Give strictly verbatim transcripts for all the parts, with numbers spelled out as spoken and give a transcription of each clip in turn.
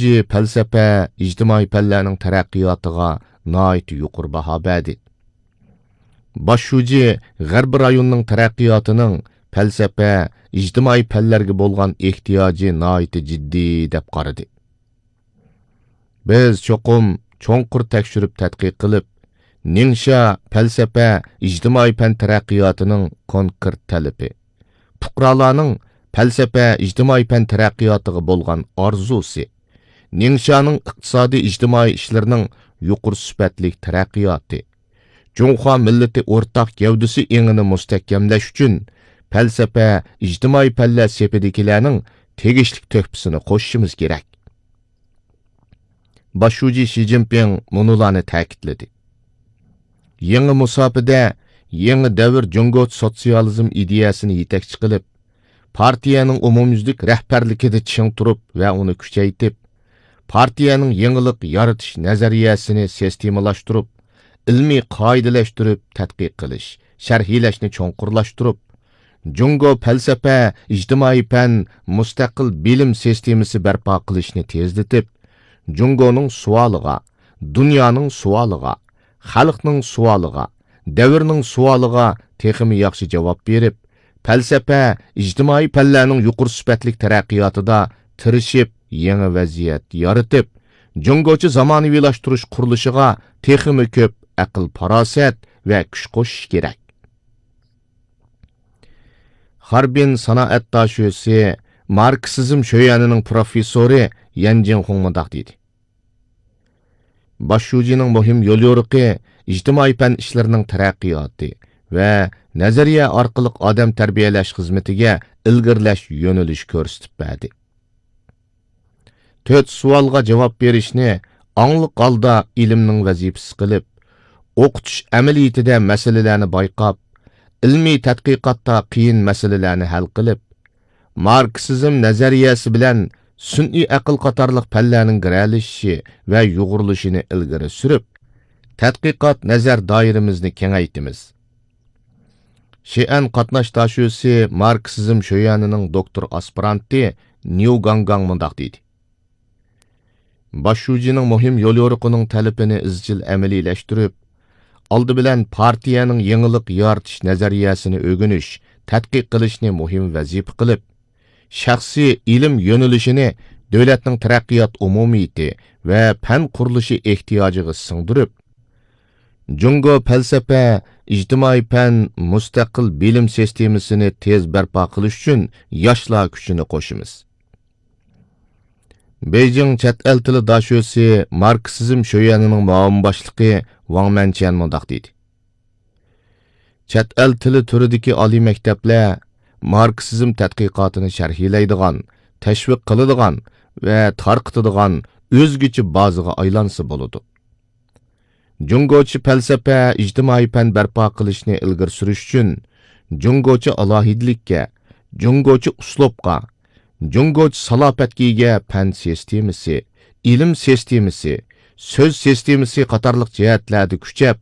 شۇجى پەلسەپە، ئىجتىمائىي پەنلەرنىڭ تەرەققىياتىغا ناھايىتى يۇقىرى باھا بەردى. باش شۇجى غەربىي رايوننىڭ تەرەققىياتىنىڭ پەلسەپە، ئىجتىمائىي پەنلەرگە بولغان ئېھتىياجى ناھايىتى جىددىي دەپ قارىدى. بىز چوقۇم چوڭقۇر تەكشۈرۈپ تەتقىق قىلىپ، نىڭشيا پەلسەپە ئىجتىمائىي پەن تەرەققىياتىنىڭ كونكرېت تەلىپى، پۇقرالارنىڭ پەلسەپە ئىجتىمائىي پەن تەرەققىياتىغا بولغان ئارزۇسى، نىڭشيانىڭ ئىقتىسادىي ئىجتىمائىي ئىشلىرىنىڭ يۇقىرى سۈپەتلىك تەرەققىياتى، جۇڭخۇا مىللىتى ئورتاق گەۋدىسى ئېڭىنى مۇستەھكەملەش ئۈچۈن پەلسەپە، ئىجتىمائىي پەنلەر سېپىدىكىلەرنىڭ تېگىشلىك تۆھپىسىنى قوشۇشىمىز كېرەك. باش شۇجى شى جىنپىڭ مۇنۇلارنى تەكىتلىدى: يېڭى مۇساپىدە يېڭى دەۋر جۇڭگو سوتسىيالىزم ئىدىيەسىنى يېتەكچى قىلىپ، پارتىيەنىڭ ئومۇميۈزلۈك رەھبەرلىكىدە چىڭ تۇرۇپ ۋە ئۇنى كۈچەيتىپ، پارتىيەنىڭ يېڭىلىق يارىتىش نەزەرىيەسىنى سىستېمىلاشتۇرۇپ، ئىلمىي قائىدىلەشتۈرۈپ تەتقىق قىلىش، شەرھلەشنى چوڭقۇرلاشتۇرۇپ، جۇڭگو پەلسەپە، ئىجتىمائىي پەن، مۇستەقىل بىلىم سىستېمىسى بەرپا قىلىشنى تېزلىتىپ، جۇڭگونىڭ سوئالىغا، دۇنيانىڭ سوئالىغا، خەلقنىڭ سوئالىغا، دەۋرنىڭ سوئالىغا تېخىمۇ ياخشى جاۋاب بېرىپ، پەلسەپە، ئىجتىمائىي پەنلەرنىڭ يۇقىرى سۈپەتلىك تەرەققىياتىدا تىرىشىپ، يېڭى ۋەزىيەت يارىتىپ، جۇڭگوچە زامانىۋىلاشتۇرۇش قۇرۇلۇشىغا تېخىمۇ كۆپ ئەقىل-پاراسەت ۋە كۈچ قوشۇش كېرەك. خاربىن سانائەت داشۆسى، ماركسىزم شۆيەنىنىڭ پروفېسسورى يەن جىڭخۇڭ مۇنداق دېدى: باش شۇجىنىڭ مۇھىم يوليورۇقى ئىجتىمائىي پەن ئىشلىرىنىڭ تەرەققىياتى ۋە نەزەرىيە ئارقىلىق ئادەم تەربىيەلەش خىزمىتىگە ئىلگىرىلەش يۆنىلىشى كۆرسىتىپ بەردى. تۆت سوئالغا جاۋاب بېرىشنى ئاڭلىق ھالدا ئىلىمنىڭ ۋەزىپىسى قىلىپ، ئوقۇتۇش ئەمەلىيىتىدە مەسىلىلەرنى بايقاپ، ئىلمىي تەتقىقاتتا قىيىن مەسىلىلەرنى ھەل قىلىپ، ماركسىزم نەزەرىيەسى بىلەن سۈنئىي ئەقىل قاتارلىق پەنلەرنىڭ گىرەلىشىشى ۋە يۇغۇرۇلۇشىنى ئىلگىرى سۈرۈپ، تەتقىقات نەزەر دائىرىمىزنى كېڭەيتىمىز. شىئەن قاتناش داشۆسى، ماركسىزم شۆيەنىنىڭ دوكتور ئاسپىرانتى نيۇ گاڭگاڭ مۇنداق دېدى: باش شۇجىنىڭ مۇھىم يوليورۇقىنىڭ تەلىپىنى ئىزچىل ئەمەلىيلەشتۈرۈپ، ئالدى بىلەن پارتىيەنىڭ يېڭىلىق يارىتىش نەزەرىيەسىنى ئۆگىنىش، تەتقىق قىلىشنى مۇھىم ۋەزىپە قىلىپ، شەخسىي ئىلىم يۆنىلىشىنى دۆلەتنىڭ تەرەققىيات ئومۇمىيىتى ۋە پەن قۇرۇلۇشى ئېھتىياجىغا سىڭدۈرۈپ، جۇڭگو پەلسەپە، ئىجتىمائىي پەن، مۇستەقىل بىلىم سىستېمىسىنى تېز بەرپا قىلىش ئۈچۈن ياشلار كۈچىنى قوشىمىز. بېيجىڭ چەت ئەل تىلى داشۆسى، ماركسىزم شۆيەنىنىڭ مۇئاۋىن باشلىقى ۋاڭ مەنچيەن مۇنداق دېدى: چەت ئەل تىلى تۈرىدىكى ئالىي مەكتەپلەر ماركسىزم تەتقىقاتىنى شەرھلەيدىغان، تەشۋىق قىلىدىغان ۋە تارقىتىدىغان ئۆزگىچە بازىغا ئايلانسا بولىدۇ. جۇڭگوچە پەلسەپە، ئىجتىمائىي پەن بەرپا قىلىشنى ئىلگىرى سۈرۈش ئۈچۈن، جۇڭگوچە ئالاھىدىلىككە، جۇڭگوچە ئۇسلۇبقا، جۇڭگوچە سالاپەتكە ئىگە پەن سىستېمىسى، ئىلىم سىستېمىسى، سۆز سىستېمىسى قاتارلىق جەھەتلەردە كۈچەپ،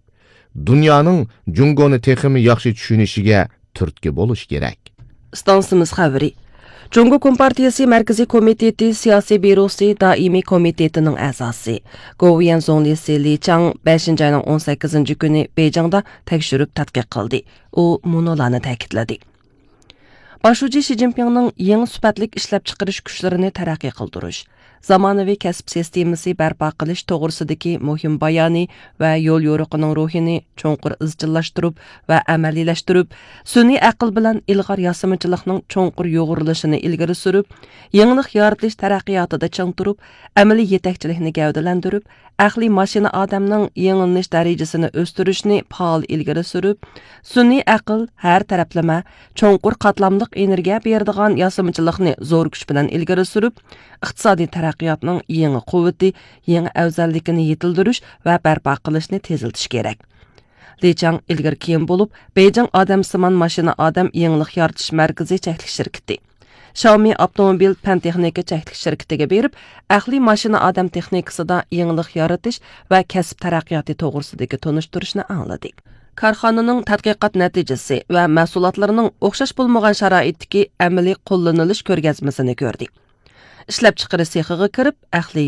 دۇنيانىڭ جۇڭگونى تېخىمۇ ياخشى چۈشىنىشىگە تۈرتكە بولۇش كېرەك. ئىستانسىمىز خەۋىرى. جۇڭگو كومپارتىيىسى مەركىزىي كومىتېتى سىياسىي بيۇروسى دائىمىي كومىتېتىنىڭ ئەزاسى، گوۋۇيۈەن زۇڭلىسى لى چاڭ بەشىنچى ئاينىڭ ئون سەككىزىنچى كۈنى بېيجىڭدا تەكشۈرۈپ تەتقىق قىلدى. ئۇ مۇنۇلارنى تەكىتلىدى: باش شۇجى شى جىنپىڭنىڭ يېڭى سۈپەتلىك ئىشلەپچىقىرىش كۈچلىرىنى تەرەققىي قىلدۇرۇش، زامانىۋى كەسىپ سىستېمىسى بەرپا قىلىش توغرىسىدىكى مۇھىم بايانى ۋە يوليورۇقىنىڭ روھىنى چوڭقۇر ئىزچىللاشتۇرۇپ ۋە ئەمەلىيلەشتۈرۈپ، سۈنئىي ئەقىل بىلەن ئىلغار ياسىمىچىلىقنىڭ چوڭقۇر يۇغۇرۇلۇشىنى ئىلگىرى سۈرۈپ، يېڭىلىق يارىتىش تەرەققىياتىدا چىڭ تۇرۇپ، ئەمەلىي يېتەكچىلىكنى گەۋدىلەندۈرۈپ، ئەقلىي ماشىنا ئادەمنىڭ يېڭىلىنىش دەرىجىسىنى ئۆستۈرۈشنى پائال ئىلگىرى سۈرۈپ، سۈنئىي ئەقىل، ھەر تەرەپلىمە، چوڭقۇر قاتلاملىق ئېنېرگىيە بېرىدىغان ياسىمىچىلىقنى زور كۈچ بىلەن ئىلگىرى سۈرۈپ، ئىقتىسادىي تەرەققىياتنىڭ يېڭى قۇۋۋىتى، يېڭى ئەۋزەللىكىنى يېتىلدۈرۈش ۋە بەرپا قىلىشنى تېزلىتىش كېرەك. لى چاڭ ئىلگىرى كېيىن بولۇپ، بېيجىڭ ئادەمسىمان ماشىنا ئادەم يېڭىلىق يارىتىش مەركىزى چەكلىك شىركىتى، شاۋمى ئاپتوموبىل پەن تېخنىكا چەكلىك شىركىتىگە بېرىپ، ئەقلىي ماشىنا ئادەم تېخنىكىسىدا يېڭىلىق يارىتىش ۋە كەسىپ تەرەققىياتى توغرىسىدىكى تونۇشتۇرۇشنى ئاڭلىدى. كارخانىنىڭ تەتقىقات نەتىجىسى ۋە مەھسۇلاتلىرىنىڭ ئوخشاش بولمىغان شارائىتتىكى ئەمەلىي قوللىنىلىش كۆرگەزمىسىنى كۆردى. ئىشلەپچىقىرىش سېخىغا كىرىپ، ئەقلىي